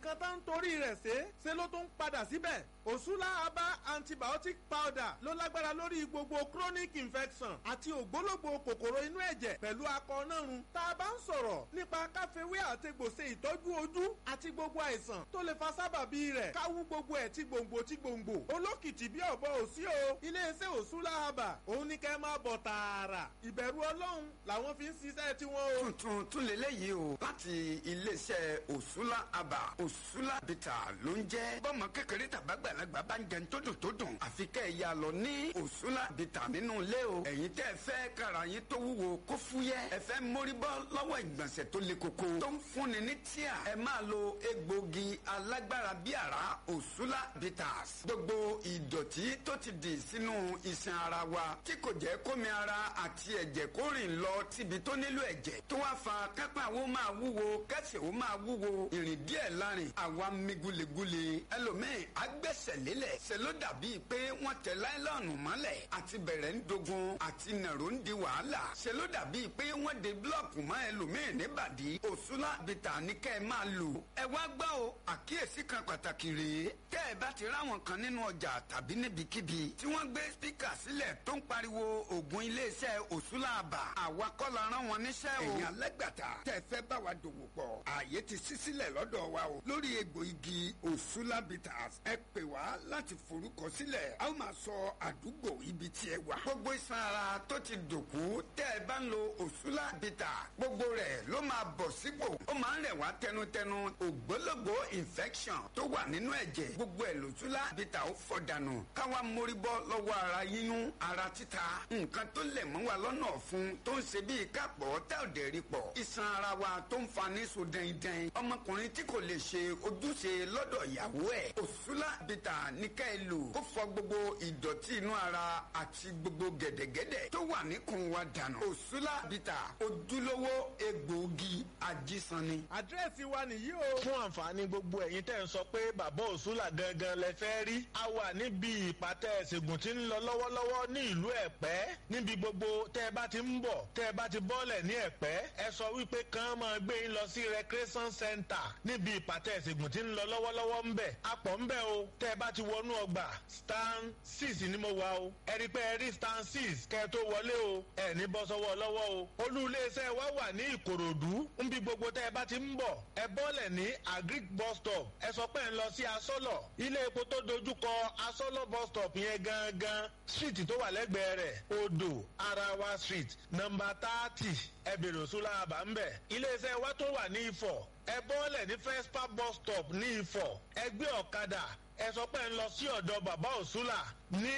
Nǹkan tá ń torí rẹ̀ ṣe ṣe ló tún ń padà síbẹ̀. Òṣùlá Aba antibiotic powder ló lágbára lórí gbogbo chronic infection àti ògbólógbò kòkòrò inú ẹ̀jẹ̀ pẹ̀lú akọ nárun. Tá a bá ń sọ̀rọ̀ nípa káfíwé àtegbò ṣe ìtọ́jú ojú àti gbogbo àìsàn tó lè fa sábàbí rẹ̀, káwú gbogbo ẹ̀ tí gbòǹgbò tí gbòǹgbò. Olókìtì bí ọ̀bọ òsí o. Iléeṣẹ́ Òṣùlá Aba òun ní kẹ́ máa bọ̀ tààrà. Ìbẹ̀rù Ọlọ́run làwọn fi ń ṣiṣẹ́ tiwọn o. Tuntun tún lélẹ́yìí o, láti iléeṣẹ́ Òṣùlá Aba. Òṣùlá Bìtà ló ń jẹ́. Bọ́mọ kékeré tàbágbàlagbà bá ń jẹun tó dùn tó dùn, àfi kẹ́ ẹ̀ ya lọ ní Òṣùlá Bìtà nínú ilé o. Ẹ̀yin tẹ́ ẹ fẹ́ kára yín tó wúwo kó fúyẹ́, ẹ fẹ́ mórí bọ́ lọ́wọ́ ìgbọ̀nsẹ̀ tó le koko tó ń fúnni ní tíà, ẹ máa lo egbògi alágbára bí àrá Òṣùlá Bitters. Gbogbo ìdọ̀tí tó ti dì sínú iṣan ara wa tí kò jẹ́ kómi ara àti ẹ̀jẹ̀ kó rìn lọ síbi tó nílò ẹ̀jẹ̀, tó wá fa kápá wo máa wúwo, kẹsẹ̀ wo máa wúwo, ìrìn díẹ̀ lárin àwa mi gulegule. Ẹlòmíì agbẹ́sẹ̀ lélẹ̀, ṣe ló dàbí pé wọ́n tẹ láìlọ́ọ̀nù mọ́lẹ̀, àti bẹ̀rẹ̀ ń dogun, àti nàró ń di wàhálà, ṣe ló dàbí pé wọ́n de búlọ̀kù mọ́ ẹlòmíì níbàdí. Òṣùlá Bìtà ní kẹ́ ẹ máa lò. Ẹ wá gbọ́ o, àkíyèsí kan pàtàkì rèé. Tẹ́ ẹ bá ti ráwọn kan nínú ọjà tàbí níbikíbi tí wọ́n gbé spíkà sílẹ̀ tó ń pariwo ògùn iléeṣẹ́ Òṣùlá Àbà, àwa kọ́ la rán wọn níṣẹ́ o. Ẹ̀yin alágbàtà tẹ́ ẹ fẹ́ bá wa dòwò pọ̀, ààyè ti ṣí sílẹ̀ lọ́dọ̀ wa o. Lórí egbò igi Òṣùlá Bitters, ẹ pè wá láti forúkọ sílẹ̀, a ó máa sọ àdúgbò ibi tí ẹ wà. Gbogbo iṣan ara tó ti dòkú, tẹ́ ẹ bá ń lo Òṣùlá Bitters, gbogbo rẹ̀ ló máa bọ̀ sípò. Ó máa ń rẹ̀ wá tẹnutẹnu. Ògbólógbò infection tó wà nínú ẹ̀jẹ̀, gbogbo ẹ̀ lòṣùlá Bitters ó fọ̀ dànù. Káwa mórí bọ́ lọ́wọ́ ara yíyún, ara títa, nǹkan tó lẹ̀ mọ́ wa lọ́nà ọ̀fun tó ń ṣe bíi kápọ̀ tá ò dẹ̀ rí pọ̀, iṣan ara wa tó ń fa ní so dẹ́ndẹ́n, ọmọkùnrin tí kò lè ṣe ojúṣe lọ́dọ̀ ìyàwó ẹ̀, Òṣùlá Bitters ní ká ẹ lò kó fọ gbogbo ìdọ̀tí inú ara àti gbogbo gẹ̀dẹ̀gẹ̀dẹ̀ tó wà níkùn wa dànù. Òṣùlá Bitters, ojúlówó egbòogi ajísanni. Àdírẹ́sì wa nìyí o. Fún àǹfààní gbogbo ẹ̀yin tẹ́ ń sọ pé bàbá Òṣùlà gangan lẹ fẹ́ rí, a wà níbi ìpàtẹ ìṣègùn tí ń lọ lọ́wọ́lọ́wọ́ ní ìlú Ẹ̀pẹ́. Níbi gbogbo tẹ́ ẹ bá ti ń bọ̀, tẹ́ ẹ bá ti bọ́ọ̀lẹ̀ ní Ẹ̀pẹ́, ẹ sọ wípé kàn máa gbé yín lọ sí recreation center níbi ìpàtẹ ìṣègùn tí ń lọ lọ́wọ́lọ́wọ́ ń bẹ̀. A pọ̀ ń bẹ̀ o. Tẹ́ ẹ bá ti wọnú ọgbà, stand 6 ni mo wà o. Ẹ rí pé ẹ rí stand 6 kẹ́ ẹ tó wọlé o. Ẹ ní bọ́ sọ́wọ́ lọ́wọ́ o. Olú iléeṣẹ́ wa wà ní Ìkòròdú. Níbi gbogbo tẹ́ ẹ bá ti ń bọ̀, ẹ bọ́ọ̀lẹ̀ ní Agric bus stop. Ẹ sọ pé ẹ ń lọ sí Asọ́lọ̀. Ilé epo tó dojúkọ Asọ́lọ̀ bus stop yẹn gangan, street tó wà lẹ́gbẹ̀ẹ́ rẹ̀, Odò Arawa Street, nọ́mbà 30. Ẹ bèrè Òṣùlá Àbá ń bẹ̀. Iléeṣẹ́ wa tó wà ní Ifọ̀, ẹ bọ́ọ̀lẹ̀ ní Fespa bus stop ní Ifọ̀. Ẹ gbé ọ̀kadà, ẹ sọ pé ẹ ń lọ sí ọ̀dọ̀ bàbá Òṣùlà ní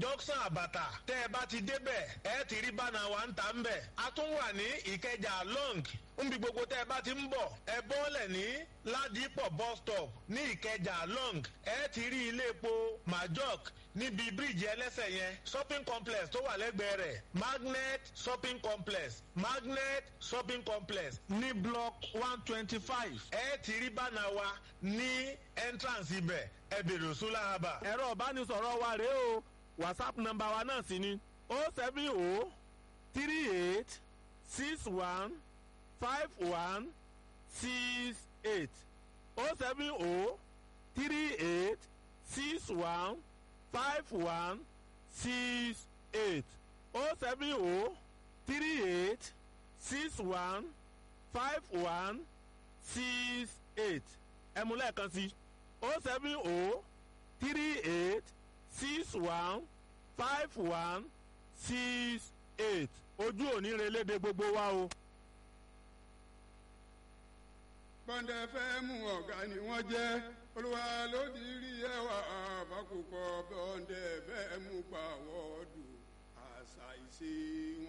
junction Àbàtà. Tẹ́ ẹ bá ti débẹ̀, ẹ ti rí bánà wa ń ta ń bẹ̀. A tún wà ní Ìkẹjà long. Nbi gbogbo tẹ́ ẹ bá ti ń bọ̀, ẹ bọ́ọ̀lẹ̀ ní Ládìpọ̀ bus stop ní Ìkẹjà long. Ẹ ti rí ilé epo Majok níbi bíríìjì ẹlẹ́sẹ̀ yẹn, shopping complex tó wà lẹ́gbẹ̀ẹ́ rẹ̀, Magnet shopping complex, Magnet shopping complex ní block 125. Ẹ ti rí bánà wa ní entrance ibẹ̀. Ẹ bèrè Òṣùlá Àbà. Ẹ̀rọ ìbánisọ̀rọ̀ wa rèé o. WhatsApp nọ́mbà wa náà sì ni 070 38 61 51 68, 070 38 61 51 68, 070 38 61 51 68. Ẹ mú lẹ́ẹ̀kan sí 070 38 61 51 68. Ojú òní relédè gbogbo wa o. Bọ́ndẹ̀ fẹ́ mú ọ̀gá ni wọ́n jẹ́. Olúwa ló ti rí ẹwà àbákùkọ. Bọ́ndẹ̀ fẹ́ mú pàwọ́ dùn àṣà ìṣe wọn.